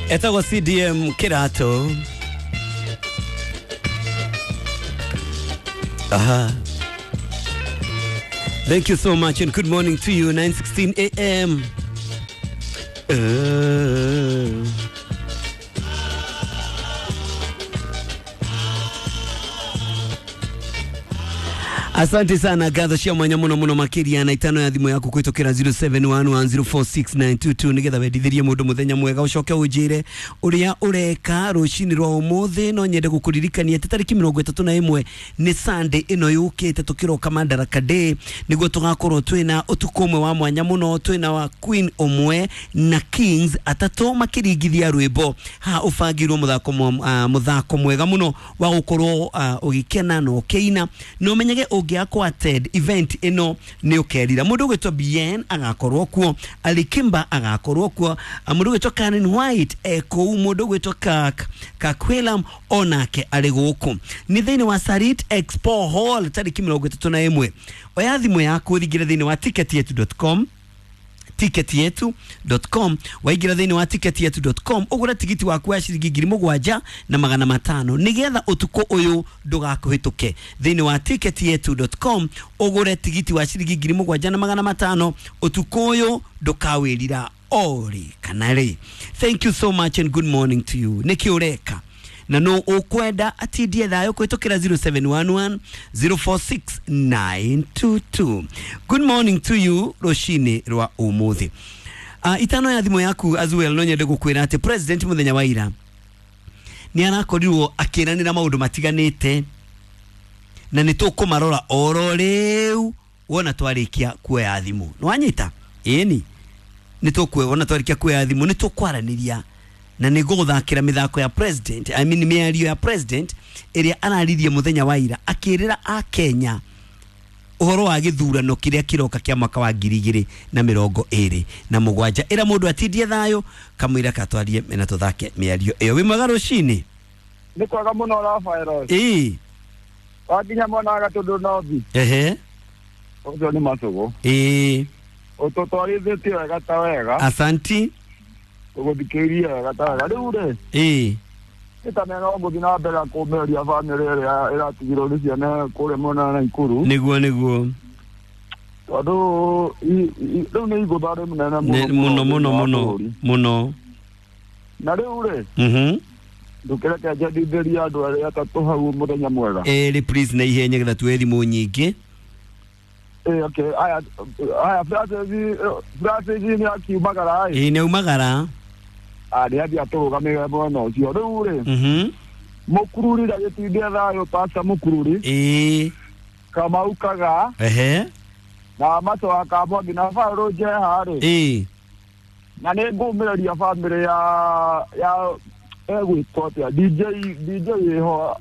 Etagwo CDM Kirato. Aha. Thank you so much and good morning to you. 9:16 a.m. Asante sana ngatho cia mwanya muno muno makiria na itano ya thimu yaku kwitukira 0711046922 nigetha wendithirie mundu muthenya mwega ucoke unjire uria ureka rucini rwa umuthi. No nyende gukuririkania ati tariki 31 ni Sunday ino yukite tukiroka Madaraka Day, niguo tugakorwo twina utuku umwe wa mwanya muno, twina wa Queen umwe na Kings atatu makiringithia rwimbo ha ubangirwo muthako muthako mwega muno wa gukorwo ugikena na ukiina no menyege ungiakwa attend event ino ni ukerira. Mundu ugwitwo Bien agakorwo kuo, Alikimba agakorwo kuo, mundu ugwitwo Karen White ekuu, mundu ugwitwo Kakwelam onake ari guku. Ni thiini wa Sarit Expo Hall tariki 31. Oya thimu yaku thingire thiini wa ticketyetu.com, ticketyetu.com, waingira thiini wa ticketyetu.com ugure tigiti waku wa ciringi 7,500 nigetha utuku uyu ndugakuhituke. Thiini wa ticketyetu.com ugure tigiti wa ciringi 7,500 utuku uyu ndukawirira ori kana ri. Thank you so much and good morning to you. Niki ureka na no ukwenda atindie thayo kwitukira 0711 046 922. Good morning to you rucini rwa umuthi. Itano ya thimu yaku as well no nyende gukwira ati president muthenya wa ira ni arakorirwo akiranira maundu matiganite na ni tukumarora oro riu wona twarikia kuoya thimu. No wanyita ĩni ni tukuona twarikia kuoya thimu ni tukwaraniria na nä ngågåthakĩra mĩthako ya president, I mean mĩario ya president ĩrĩa araririe mũthenya wa ira akĩrĩra a Kenya ũhoro wa gĩthurano kĩrĩa kĩroka kĩa mwaka wa 2027. Ĩra mũndũ atindie thayũ kamũira katwarie na tũthake mĩario ĩyo. Wĩ mwega rũcinĩ? Nĩ kwega mũno Rafael. Ĩĩ wakinya mwena wa Gatũndũ North. Ehe, ũcio nĩ Macũgũ. Ĩĩ, ũtũtwarithĩtie wega ta wega. Asanti. Ũgũthikĩrĩria wega ta wega. Rĩu rĩ, ĩĩ, nĩ no ngũthiĩ na mbere kũmĩria bamĩrĩ ĩrĩa ĩratigirwo nĩ ciana kũrĩa mwena wa Naikuru. Nĩguo nĩguo, tondũ rĩu nĩ igũtha rĩnene mũno mũno mũno mũno. Na rĩu rĩ, ndũkĩreke njendithĩrie andũ arĩa atatũ hau mũthenya mwega. Ĩrĩ please na ihenya getha tuoe thimũ nyingĩ. Okay, aya aya Francis nĩ akiumagara. Ĩĩ nĩ aumagara. Nĩ athiĩ atũrũgamĩrĩre mwena ũcio. Rĩu rĩ, Mũkururi ndagĩtindie thayũ, Pastor Mũkururi. Ĩĩ, Kamau Kaga. Ehe, na Macho wa Kamwangi na Baũrũ Njeha rĩ. Ĩĩ, na nĩ ngũmĩrĩria bamĩrĩ ya egwĩtwo atĩa DJ ĩho.